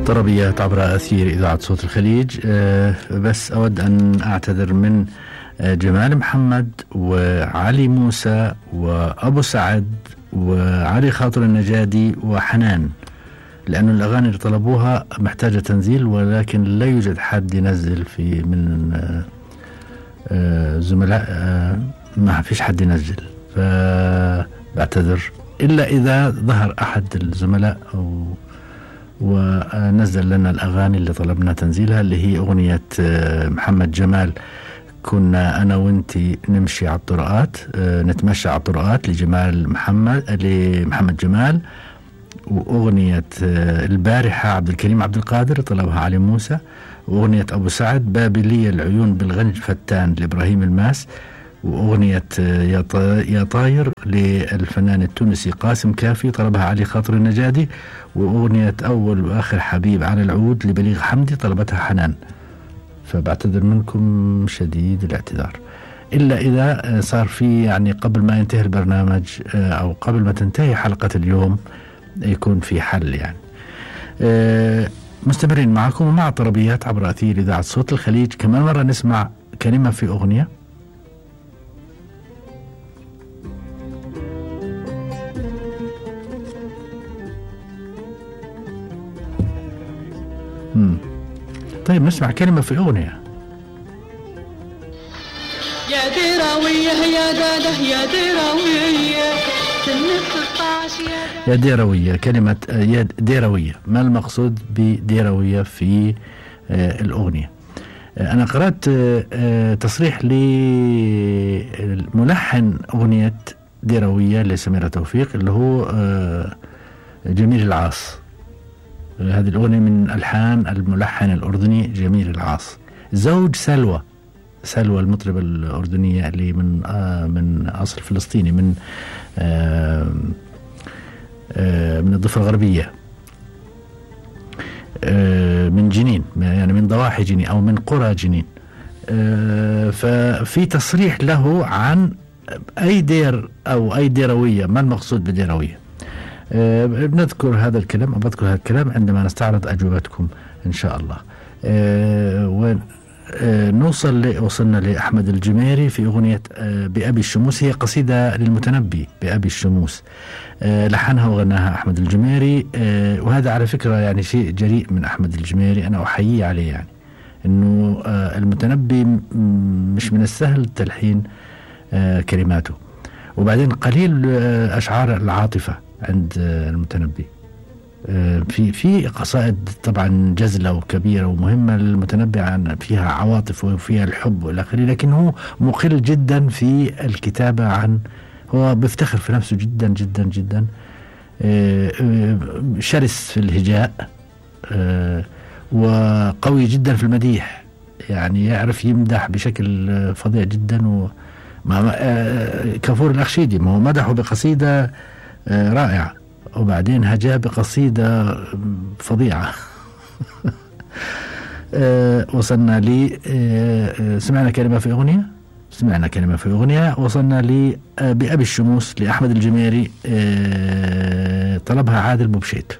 طربيات عبر أثير إذاعة صوت الخليج. بس أود أن أعتذر من جمال محمد وعلي موسى وأبو سعد وعلي خاطر النجادي وحنان، لأن الأغاني اللي طلبوها محتاجة تنزيل، ولكن لا يوجد حد ينزل في من زملاء، ما فيش حد ينزل، فبعتذر إلا إذا ظهر أحد الزملاء ونزل لنا الأغاني اللي طلبنا تنزيلها، اللي هي أغنية محمد جمال كنا أنا وانتي نمشي على الطرقات، نتمشى على الطرقات لمحمد جمال، وأغنية البارحة عبد الكريم عبد القادر طلبها علي موسى، وأغنية أبو سعد بابلية العيون بالغنج فتان لإبراهيم الماس، وأغنية يا طاير للفنان التونسي قاسم كافي طلبها علي خاطر النجادي، وأغنية أول وآخر حبيب على العود لبليغ حمدي طلبتها حنان. فبعتذر منكم شديد الاعتذار، إلا إذا صار في يعني قبل ما ينتهي البرنامج أو قبل ما تنتهي حلقة اليوم يكون في حل يعني. مستمرين معكم ومع طربيات عبر أثير إذاعة صوت الخليج. كمان مرة نسمع كلمة في أغنية. طيب نسمع كلمة في أغنية. يا ديراوية يا داده يا ديراوية سن 16 يا ديراوية. كلمة يا ديراوية، ما المقصود بديراوية في الأغنية؟ أنا قرأت تصريح لملحن أغنية ديراوية لسميرة توفيق اللي هو جميل العاص. هذه الأغنية من ألحان الملحن الأردني جميل العاص، زوج سلوى المطربة الأردنية اللي من أصل فلسطيني، من الضفة الغربية، من جنين، يعني من ضواحي جنين أو من قرى جنين. ففي تصريح له عن أي دير أو أي ديروية، ما المقصود بديروية. بنذكر هذا الكلام أو بذكر هذا الكلام عندما نستعرض أجوبتكم إن شاء الله. وصلنا لأحمد الجميري في أغنية بأبي الشموس، هي قصيدة للمتنبي بأبي الشموس، لحنها وغناها أحمد الجميري. وهذا على فكرة يعني شيء جريء من أحمد الجميري، أنا أحييه عليه، يعني أنه المتنبي مش من السهل تلحين كلماته. وبعدين قليل أشعار العاطفة عند المتنبي. في قصائد طبعا جزلة وكبيرة ومهمة للمتنبي، عن فيها عواطف وفيها الحب والى اخره، لكن هو مقل جدا في الكتابة، هو بيفتخر في نفسه جدا جدا جدا، شرس في الهجاء، وقوي جدا في المديح، يعني يعرف يمدح بشكل فظيع جدا. كفور الأخشيدي ما هو مدحه بقصيدة رائعة، وبعدين هجاء بقصيدة فظيعة. وصلنا لي سمعنا كلمة في أغنية. وصلنا لي بأبي الشموس لأحمد الجميري، طلبها عادل بوبشيت.